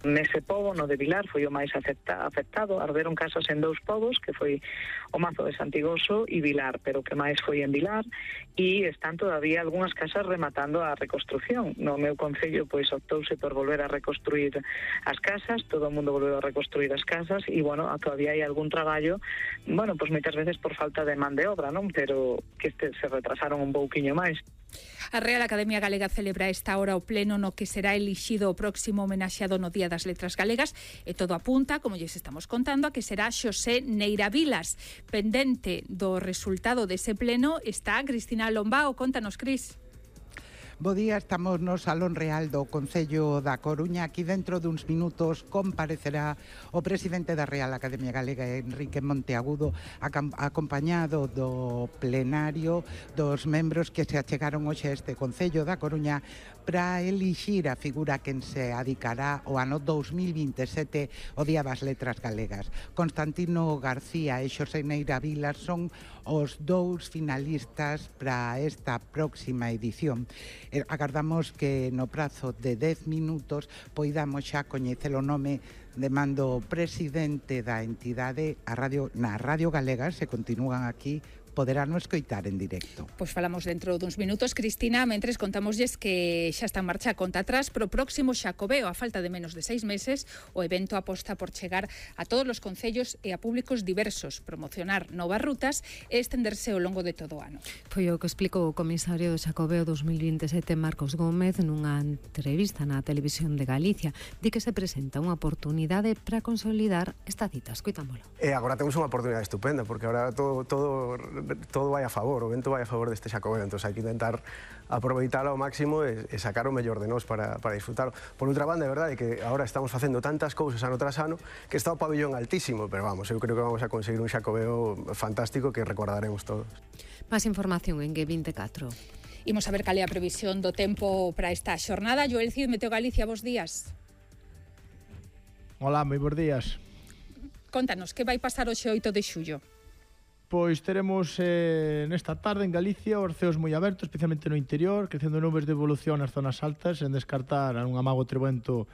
Nese pobo, no de Vilar, foi o máis afectado. Arderon casas en 2 pobos, que foi o Mazo de Santigoso e Vilar, pero que máis foi en Vilar, e están todavía algunhas casas rematando a reconstrucción. No meu concello, pois, optouse por volver a reconstruir as casas, todo o mundo volveu a reconstruir as casas, e, bueno, todavía hai algún traballo, bueno, pois moitas veces por falta de man de obra, non? Pero que se retrasaron un pouquiño máis. A Real Academia Galega celebra esta hora o pleno no que será elixido o próximo homenaxeado no Día das Letras Galegas e todo apunta, como lles estamos contando, a que será Xosé Neira Vilas. Pendente do resultado dese pleno está Cristina Lombao. Contanos, Cris. Bo día, estamos no Salón Real do Concello da Coruña. Aquí dentro duns minutos comparecerá o presidente da Real Academia Galega, Enrique Monteagudo, acompañado do plenario dos membros que se achegaron hoxe a este Concello da Coruña para elixir a figura quen se adicará o ano 2027 o Día das Letras Galegas. Constantino García e Xosé Neira Vilas son os 2 finalistas para esta próxima edición. Agardamos que no prazo de 10 minutos poidamos xa coñecer o nome de mando presidente da entidade. Na Radio Galega se continúan aquí, poderán escoitar en directo. Pois falamos dentro duns minutos, Cristina. Mentres contámoslles que xa está en marcha a conta atrás pro próximo Xacobeo. A falta de menos de 6 meses, o evento aposta por chegar a todos os concellos e a públicos diversos, promocionar novas rutas e estenderse ao longo de todo o ano. Foi o que explicou o comisario do Xacobeo 2027, Marcos Gómez, nunha entrevista na Televisión de Galicia. Di que se presenta unha oportunidade para consolidar esta cita. Escoitámolo. Agora temos unha oportunidade estupenda, porque agora todo vai a favor, o vento vai a favor deste Xacobeo, entón hai que intentar aproveitalo ao máximo e sacar o mellor de nós para disfrutar. Por outra banda, é verdade que agora estamos facendo tantas cousas ano tras ano que está o pabillón altísimo, pero vamos, eu creo que vamos a conseguir un Xacobeo fantástico que recordaremos todos. Máis información en G24. Imos a ver cal é a previsión do tempo para esta xornada. Joel Cid, Meteo Galicia, bos días. Hola, moi bons días. Contanos, que vai pasar hoxe 8 de xullo? Pois teremos nesta tarde en Galicia os ceos moi abertos, especialmente no interior, crecendo nubes de evolución nas zonas altas, en descartar un amago trevento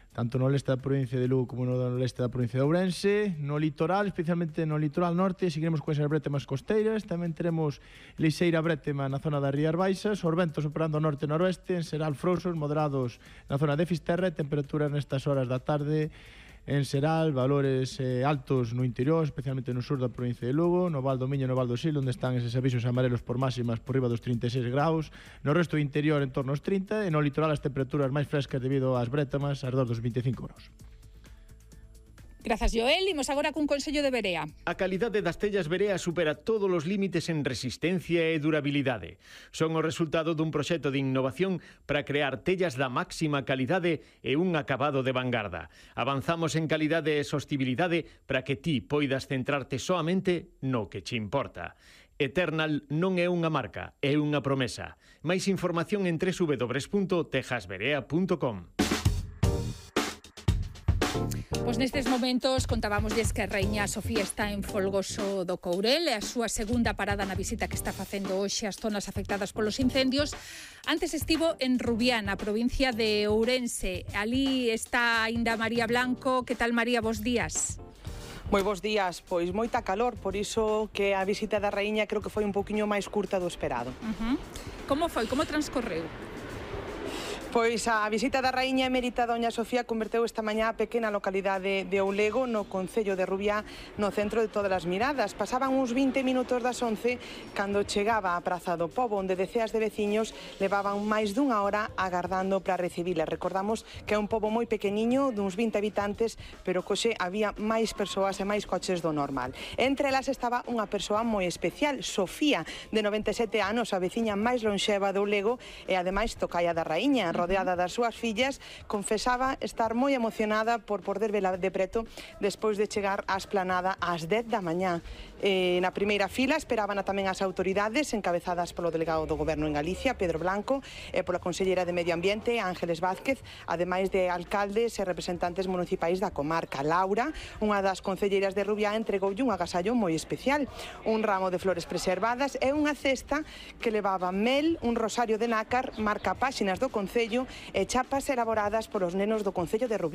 tanto no leste da provincia de Lugo como no leste da provincia de Ourense. No litoral, especialmente no litoral norte, seguiremos con esas brétemas costeiras. Tamén teremos lixeira brétema na zona das Rías Baixas, os ventos operando norte e noroeste, en Seral frouxos, moderados na zona de Fisterra, e temperaturas nestas horas da tarde en Seral, valores altos no interior, especialmente no sur da provincia de Lugo, no Val do Miño e no Val do Sil, onde están eses avisos amarelos por máximas por riba dos 36 graus, no resto do interior en torno aos 30, e no litoral as temperaturas máis frescas debido ás brétamas, arredor dos 25 graus. Grazas, Joel. Imos agora cun consello de Berea. A calidade das tellas Berea supera todos os límites en resistencia e durabilidade. Son o resultado dun proxecto de innovación para crear tellas da máxima calidade e un acabado de vanguarda. Avanzamos en calidade e sostibilidade para que ti poidas centrarte soamente no que che importa. Eternal non é unha marca, é unha promesa. Máis información en www.tejasberea.com. Pois nestes momentos contábamosles que a Raíña Sofía está en Folgoso do Courel, é a súa segunda parada na visita que está facendo hoxe ás zonas afectadas polos incendios. Antes estivo en Rubiá, na provincia de Ourense. Ali está aínda María Blanco. Que tal, María? Bos días. Moi bons días, pois moita calor, por iso que a visita da Raíña creo que foi un pouquiño máis curta do esperado. Como foi? Como transcorreu? Pois a visita da Raíña Emérita Doña Sofía converteu esta mañá a pequena localidade de Oulego, no concello de Rubiá, no centro de todas as miradas. Pasaban uns 20 minutos das 11 cando chegaba á Praza do Pobo, onde deceas de veciños levaban máis dunha hora agardando para recibila. Recordamos que é un pobo moi pequeniño, duns 20 habitantes, pero coxe había máis persoas e máis coches do normal. Entre elas estaba unha persoa moi especial, Sofía, de 97 anos, a veciña máis lonxeva de Oulego e ademais tocaia da Raíña. Rodeada das súas fillas, confesaba estar moi emocionada por poder vela de preto despois de chegar á esplanada ás 10 da mañá. Na primeira fila esperaban tamén as autoridades encabezadas polo delegado do Goberno en Galicia, Pedro Blanco, e pola conselleira de Medio Ambiente, Ángeles Vázquez, ademais de alcaldes e representantes municipais da comarca. Laura, unha das concelleiras de Rubiá, entregoulle un agasallo moi especial, un ramo de flores preservadas e unha cesta que levaba mel, un rosario de nácar, marca páxinas do concello e chapas elaboradas polos nenos do concello de Rubiá.